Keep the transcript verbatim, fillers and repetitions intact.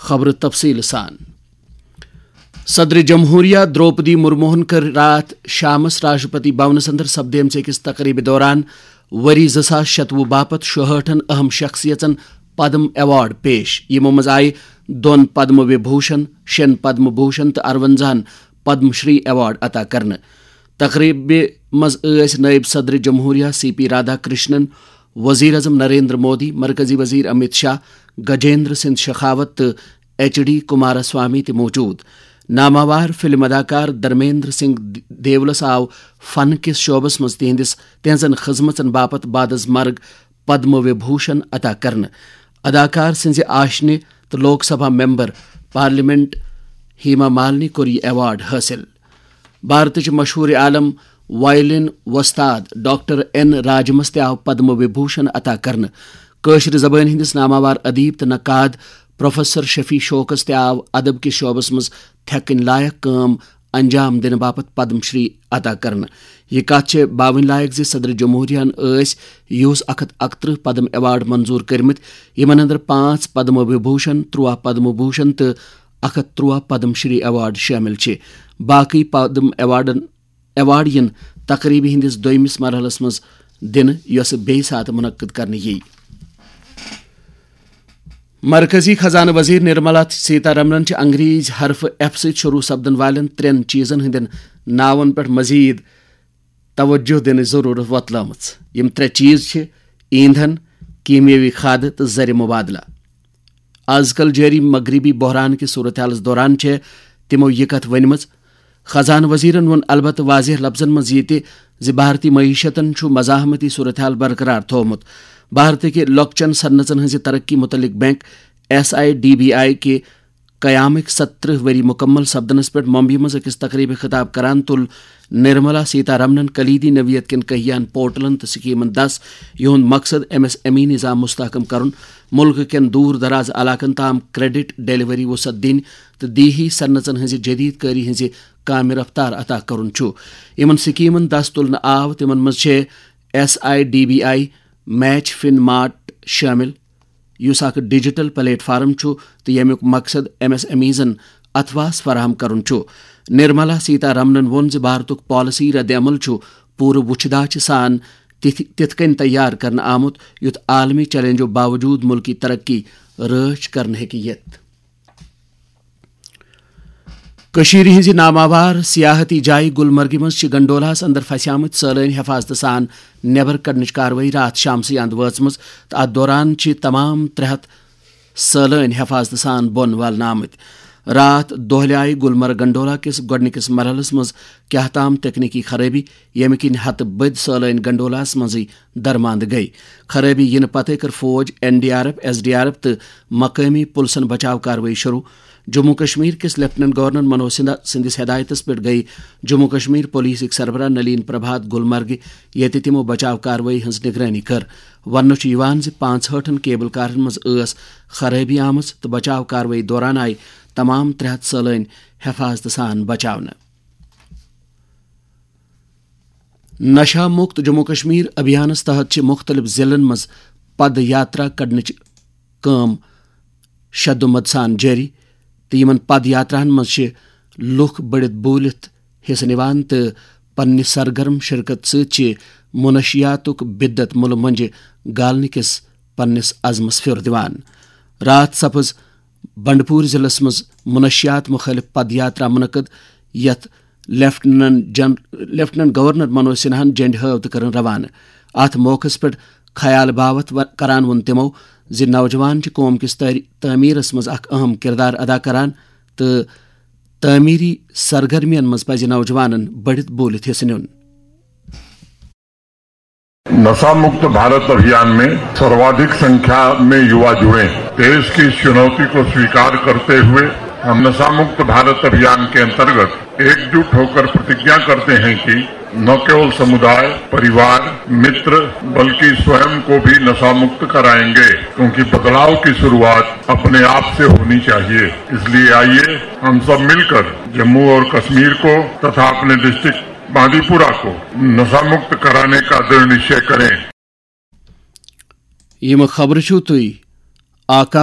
خبرٕ تفصیٖل سان۔ صدر جمہوریہ درٛوپدی مرموہن کٔر راتھ شامس راشٹرپتی بھونس اندر سپدیمژِ أکِس تقریبہِ دوران ؤری زٕ ساس شتوُہ باپتھ شُہٲٹھن اہم شخصیژن پدم ایوارڈ پیش، یِمو منٛز آیہِ دۄن پدم وبھوشن، شیٚن پدم بھوشن تہٕ ارونزاہن پدم شری ایوارڈ عطا کرنہٕ۔ تقریبہِ منٛز ٲسۍ نٲیِب صدر جمہوریہ سی پی رادھا کرشنن، وزیر اعظم نریندر مودی، مرکزی وزیر امت شاہ، گجیندر سنگھ شخاوت تہٕ ایچ ڈی کمارا سوامی تہِ موجود۔ ناماوار فلم اداکار دھرمیندر سنگھ دیولس آو فن کِس شعبس منٛز تِہنٛدِس، تِہنٛزن خدمژن باپتھ بعد از مرگ پدم وبھوشن عطا کرنہٕ۔ اداکار سٕنٛزِ آشنہِ تہٕ لوک سبھا ممبر پارلیمنٹ ہیما مالنی کوٚر یہِ ایوارڈ حٲصِل۔ بھارتٕچ مشہوٗر عالم وایلن وۄستاد ڈاکٹر این راجمس تہِ آو پدم وبھوشن عطا کرنہٕ۔ کٲشرِ زبٲنۍ ہٕنٛدِس ناماوار ادیب تہٕ نقاد پروفیسر شفیع شوقس تہِ آو ادب کِس شعبس منٛز تھٮ۪کٕنۍ لایق کٲم انجام دِنہٕ باپتھ پدم شری عطا کرنہٕ۔ یہِ کتھ چھےٚ باوٕنۍ لایق زِ صدر جمہوریہن ٲسۍ یُہُس اکھ ہتھ اکترٕہ پدم ایوارڈ منظور کٔرمٕتۍ، یِمن اندر پانٛژھ پدم وبھوشن، ترٛواہ پدم بھوشن تہٕ اکھ ہتھ ترٛواہ پدم شری ایوارڈ شٲمِل چھِ۔ باقٕے پدم ایوارڈن، ایوارڈ یِن تقریبہِ ہٕنٛدِس دوٚیمِس مرحلس منٛز دِنہٕ، یۄسہٕ بیٚیہِ ساتہٕ منعقد کرنہٕ یِیہِ۔ مرکزی خزانہٕ وزیر نرملا سیتارمنن چھِ انگریزی حرف ایف سۭتۍ شروع سپدن والٮ۪ن ترٛٮ۪ن چیزن ہٕنٛدٮ۪ن ناون پٮ۪ٹھ مزید توجہ دِنٕچ ضرورت وۄتلٲومٕژ۔ یِم ترٛےٚ چیز چھِ: ایندھن، کیمیٲوی کھادٕ تہٕ زر مبادلہٕ۔ از کل جٲری مغربی بحران کِس صورتحالس دوران چھےٚ تِمو یہِ کتھ ؤنمٕژ۔ خزانہٕ وزیرن ووٚن البتہٕ واضح لفظن منٛز یہِ تہِ زِ بھارتی معیشتن چھُ مزاحمتی صورتحال برقرار تھوومُت۔ بھارتٕکہِ لۄکچن صنعژن ہٕنٛزِ ترقی متعلق bank S I D B I کہِ قیامٕکۍ ستترٕہ ؤری مکمل سپدنس پٮ۪ٹھ ممبئی منٛز أکِس تقریبہِ خطاب کران تُل نرملا سیتارمنن کلیدی نوعیت کٮ۪ن کہیان پورٹلن تہٕ سکیمن دس، یِہُنٛد مقصد ایم ایس ایم ای نظام مستحکم کرُن، ملکہٕ کٮ۪ن دوٗر دراز علاقن تام کریڈٹ ڈیلیوری وسعت دِنۍ تہٕ دیہی صنعژن ہٕنٛزِ جدید کٲری ہٕنٛزِ کامہِ رفتار عطا کرُن چھُ۔ یِمن سکیمن دس تُلنہٕ آو، تِمن منٛز چھِ S I D B I match fun mart شٲمِل، یُس اکھ ڈیجیٹل پلیٹ فارم چھُ تہٕ ییٚمیُک مقصد ایم ایس ایم ایزن اتھواس فراہم کرُن چھُ۔ نرملا سیتارمنن ووٚن زِ بھارتُک پالیسی رد عمل چھُ پوٗرٕ وُچھِ داچھِ سان تِتھ تِتھ کٔنۍ تیار کرنہٕ آمُت یُتھ عالمی چیلنجو باوجود مُلکی ترقی رٲچھ کرنہٕ ہیٚکہِ یِتھ۔ کٔشیٖرِ ہٕنٛزِ ناماوار سیاحتی جایہِ گلمرگہِ منٛز چھِ گنڈولاہس اندر پھسیمٕتۍ سٲلٲنۍ حفاظتہٕ سان نٮ۪بر کڑنٕچ کاروٲیی راتھ شامسٕے اند وٲژمٕژ تہٕ اتھ دوران چھِ تمام ترٛےٚ ہتھ سٲلٲنۍ حفاظتہٕ سان بۄن والنہٕ آمٕتۍ۔ راتھ دۄہلہِ آیہِ گلمرگ گنڈولا کِس گۄڈٕنِکِس مرحلس منٛز کیاہ تام تکنیکی خرٲبی، ییٚمہِ کِنۍ ہتہٕ بٔدۍ سٲلٲنۍ گنڈولاہس منٛزٕے درماندٕ گٔیہِ۔ خرٲبی یِنہٕ پتہٕ کٔر فوج، N D R F, S D R F تہٕ مقٲمی پُلسن بچاو کاروٲیی شروع۔ جموں کشمیر کِس لیفٹیننٹ گورنر منوج سنہا سٕنٛدِس ہدایتس پٮ۪ٹھ گٔیہِ جموں کشمیر پولیسٕکۍ سربراہ نلین پربھات گلمرگہِ، ییٚتہِ تِمو بچاو کاروٲیی ہٕنٛز نگرٲنی کٔر۔ وننہٕ چھُ یِوان زِ پانٛژہٲٹھن کیبل کارن منٛز ٲس خرٲبی آمٕژ تہٕ بچاو کاروٲیی دوران آیہِ تمام ترٛےٚ ہتھ سٲلٲنۍ حفاظتہٕ سان بچاونہٕ۔ نشہ مکت جموں کشمیر ابھیانس تحت چھِ مختلف ضلعن منٛز پد یاترا کڑنٕچ کٲم شدومت سان جٲری تہٕ یِمن پد یاتراہن منٛز چھِ لُکھ بٔڑِتھ بوٗلِتھ حصہٕ نِوان تہٕ پننہِ سرگرم شرکت سۭتۍ چھِ منشیاتُک بدت مُلہٕ مۄنجہِ گالنہٕ کِس پننِس عزمس پھیُر دِوان۔ راتھ سپٕز بنڈپور ضلعس منٛز منشیات مخٲلف پد یاترا منعقد، یتھ لیفٹیننٹ جن-، لیفٹیننٹ گورنر منوج سنہاہن جنڈِ ہٲو تہٕ کٔرٕن روانہٕ۔ اتھ موقعس پٮ۪ٹھ خیال باوتھ و-، کران ووٚن تِمو زِ نوجوان چھِ قوم کِس تٲری-، تعمیرس منٛز اکھ اہم کردار ادا کران تہٕ تعمیری سرگرمین منٛز پزِ نوجوانن بٔڑِتھ بوٗلِتھ حصہٕ نیُن۔ नशा मुक्त भारत अभियान में सर्वाधिक संख्या में युवा जुड़े। देश की इस चुनौती को स्वीकार करते हुए हम नशा मुक्त भारत अभियान के अंतर्गत एकजुट होकर प्रतिज्ञा करते हैं कि न केवल समुदाय, परिवार, मित्र, बल्कि स्वयं को भी नशा मुक्त कराएंगे, क्योंकि बदलाव की शुरुआत अपने आप से होनी चाहिए। इसलिए आइए, हम सब मिलकर जम्मू और कश्मीर को तथा अपने डिस्ट्रिक्ट बांदीपुरा को नशा मुक्त कराने का दृढ़ निश्चय करें। یِم خبرٕ چھِو تُہۍ آکاش